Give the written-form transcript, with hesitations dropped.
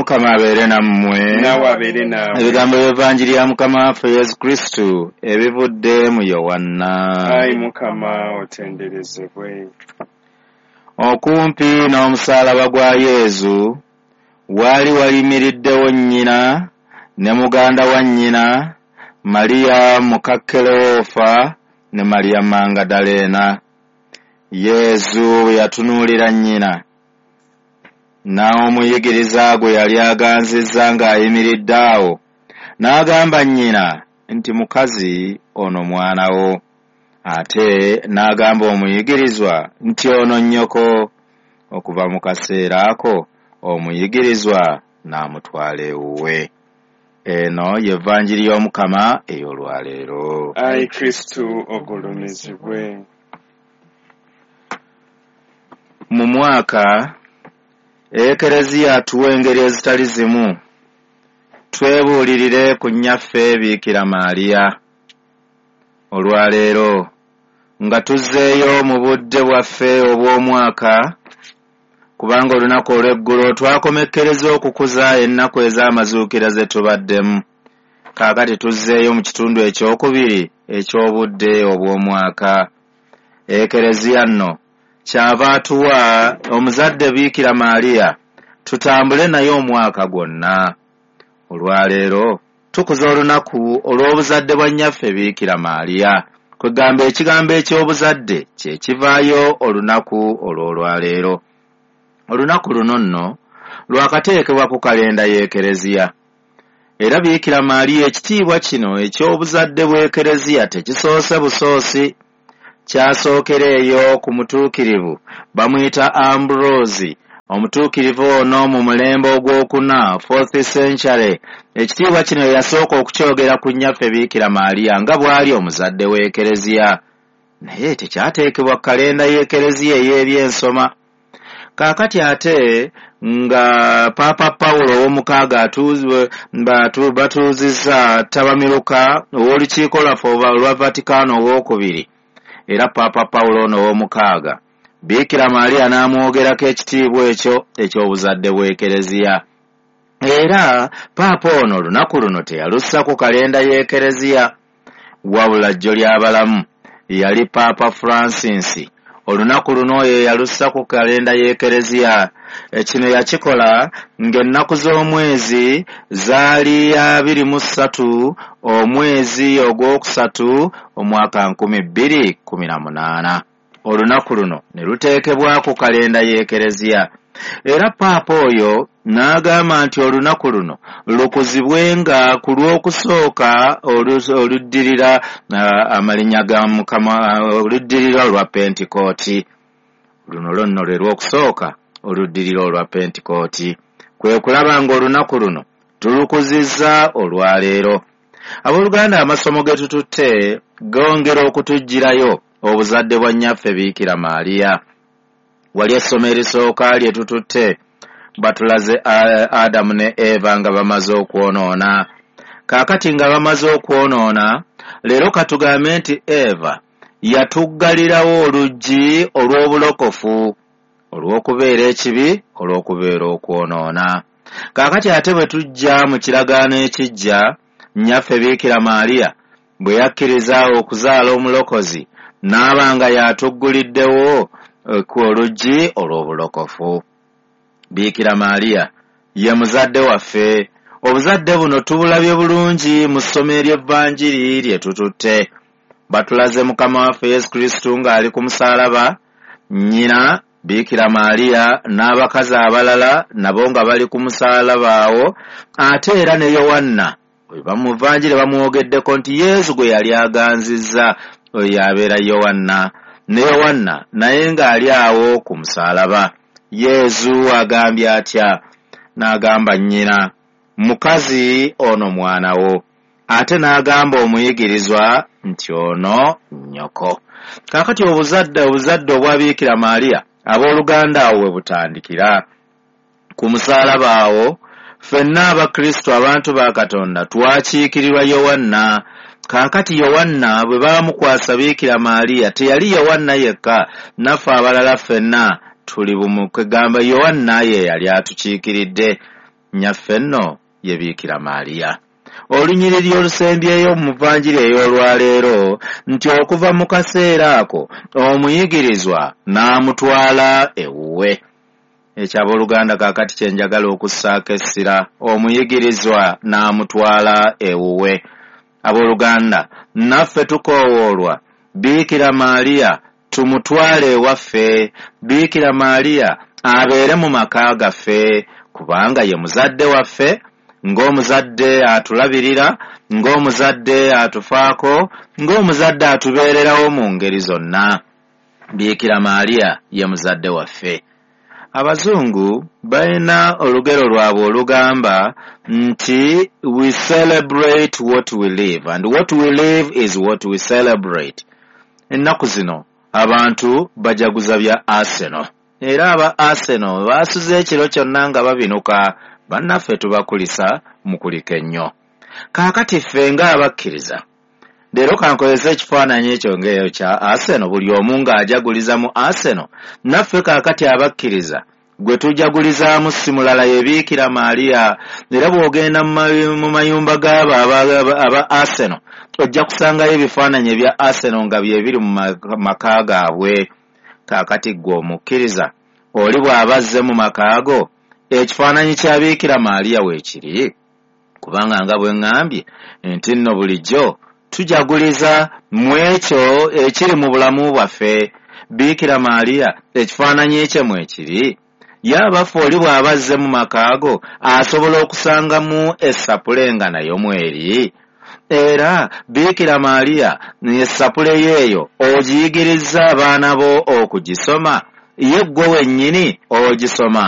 Omukama abeere nammwe. Naawe abeere naawe. Ebigambo by'Evanjiri ya Mukama waffe Yesu Kristu ebivudde mu Yowanna. Ayi Mukama otenderezebwe. Okumpi n'omusaalaba gwa Yezu waali wayimiriddewo nnyina ne muganda wa nnyina, Mariya muka Kerewoofa ne Mariya Mangadaleena. Yezu bwe yatunuulira nnyina n'omuyigiriza gwe yali aganzizza ng'ayimiridde awo, n'agamba nnyina nti, "Mukazi, ono mwana wo." Ate n'agamba omuyigirizwa nti, "Ono nnyoko." Okuva mu kaseera ako omuyigirizwa n'amutwala ewuwe. Eno ye Vanjiri y'Omukama ey'olwaleero. Ayi Kristu ogulumizibwe. Mu mwaka Ekereziya atuwa engeri ezitali zimu twebuulirire ku nnyaffe Biikira Maaliya. Olwaleero nga tuzzeeyo mu budde bwaffe obw'omwaka, kubanga olunaku olw'eggulo twakomekkereza okukuza ennaku ez'amazuukira ze tubaddemu. Kaakati tuzzeeyo mu kitundu ekyokubiri eky'obudde obw'omwaka. Ekereziya nno kyava atuwa omuzadde Biikira Maaliya tutambule naye omwaka gwonna. Olwaleero tukuza olunaku olw'obuzadde bwa nnyaffe Biikira Maaliya. Kwegamba ekigambo eky'obuzadde kye kivaayo olunaku olw'olwaleero. Olunaku luno nno lwakateekebwa ku kalenda y'Ekereziya. Era Biikira Maaliya ekitiibwa kino eky'obuzadde bw'Ekereziya tekisoose busoosi. Kyasookera eyo ku mutuukirivu bamuyita Ambrose. Omutuukirivu ono mu mulembe ogwokuna, 4th century, ekitiibwa kino yasooka okukyogera ku nnyaffe Biikira Maaliya nga bw'ali omuzadde w'Ekereziya. Naye tekyateekebwa ku kalenda y'Ekereziya ey'ebyensoma. Kaakati ate nga Paapa Pawulo ow'omukaaga batuuzizza ttabamiruka ow'olukiiko lwaffe olwa Vatikano ow'okubiri, era Paapa Pawulo ono ow'omukaaga Biikira Maaliya n'amwogerako ekitiibwa ekyo eky'obuzadde bw'Ekereziya. Era Paapa ono olunaku luno teyalussa ku kalenda y'Ekereziya, wabula jjo ly'abalamu yali Paapa Francis. Olunaku luno oyo yalussa ku kalenda y'Ekereziya. Kino yakikola ng'ennaku z'omwezi zaali 23 omwezi ogwokusatu omwaka 2018. Olunaku luno ne luteekebwa ku kalenda y'Ekereziya. Era Paapa oyo n'agamba nti olunaku luno lukuzibwenga ku lw'okusooka oluddirira amalinnya ga Mukama, oluddirira olwa Pentikooti. Luno lwonno lwe lw'okusooka oluddirira olwa Pentikooti. Kwe kulaba ng'olunaku luno tulukuzizza olwaleero. Abooluganda, amasomo ge tututte gongera okutuggyirayo obuzadde bwa nnyaffe Biikira Maaliya. Wali essomo erisooka lye tututte batulaze Adamu ne Eva nga bamaze okwonoona. Kaakati nga bamaze okwonoona, leero katugambe nti Eva yatuggalirawo oluggi olw'obulokofu, olw'okubeera ekibi, olw'okubeera okwonoona. Kaakati ate bwe tujja mu kiragaano ekijja, nnyaffe Biikira Maaliya bwe yakkiriza okuzaala omulokozi, n'aba nga y'atugguliddewo ku oluggi olw'obulokofu. Biikira Maaliya ye muzadde waffe. Obuzadde buno tubulabye bulungi mu ssomo ery'Evanjiri lye tututte. Batulaze Mukama waffe Yesu Kristu ng'ali ku musaalaba, nnyina Biikira Maaliya n'abakazi abalala nabo nga bali ku musaalaba awo, ate era ne Yowanna mu Vanjiri bamwogeddeko nti Yesu gwe yali aganzizza oyo y'abeera Yowanna. Ne Yowanna naye ng'ali awo ku musaalaba. Yesu agambye atya? N'agamba nnyina, "Mukazi, ono mwana wo." Ate n'agamba omuyigirizwa nti, "Ono nnyoko." Kaakati obuzadde obwa Biikira Maaliya abooluganda awo we butandikira. Ku musaalaba awo ffenna Abakristu abantu ba Katonda twakiikirirwa Yowanna. Kaakati Yowanna bwe baamukwasa Biikira Maaliya teyali Yowanna yekka, naffe abalala ffenna tuli bumu. Kwegamba Yowanna ye yali atukiikiridde. Nnyaffe nno ye Biikira Maaliya. Olunyiriri olusembyeyo mu vanjiri ey'olwaleero nti okuva mu kaseera ako omuyigirizwa n'amutwala ewuwe. Ekyo abooluganda kaakati kye njagala okussaako essira, omuyigirizwa n'amutwala ewuwe. Abooluganda, naffe tukoowoolwa Biikira Maaliya tumutwale ewaffe, Biikira Maaliya abeere mu maka gaffe, kubanga ye muzadde waffe, ng'omuzadde atulabirira, ng'omuzadde atufaako, ng'omuzadde atubeererawo mu ngeri zonna. Biikira Maaliya ye muzadde waffe. Abazungu balina olugero lwabwe olugamba nti we celebrate what we live and what we live is what we celebrate. Ennaku zino abantu bajaguza bya Arsenal, era aba Arsenal baasuze ekiro kyonna nga babinuka. Bannaffe tubakulisa mukulike nnyo. Kaakati ffe ng'abakkiriza leero kankozese ekifaananyi ekyo ng'eyo kya Arsenal, buli omu ng'ajaguliza mu Arsenal. Naffe kaakati abakkiriza gwe tujagulizaamu si mulala ye Biikira Maaliya. Era bw'ogenda mu mayumba g'abo aba Arsenal ojja kusangayo ebifaananyi ebya Arsenal nga bye biri mu maka gaabwe. Kaakati ggwe omukkiriza oli bw'aba azze mu maka go, ekifaananyi kya Biikira Maaliya weekiri, kubanga nga bwe ŋŋambye nti nno bulijjo tujaguliza mu ekyo ekiri mu bulamu bwaffe. Biikira Maaliya ekifaananyi kye mwekiri. Ye abaffe oli bw'aba azze mu maka go asobola okusangamu essapule nga nayo mweri. Era Biikira Maaliya essapule yeeyo ogiyigirizza abaana bo okugisoma, ye ggwe wennyini ogisoma.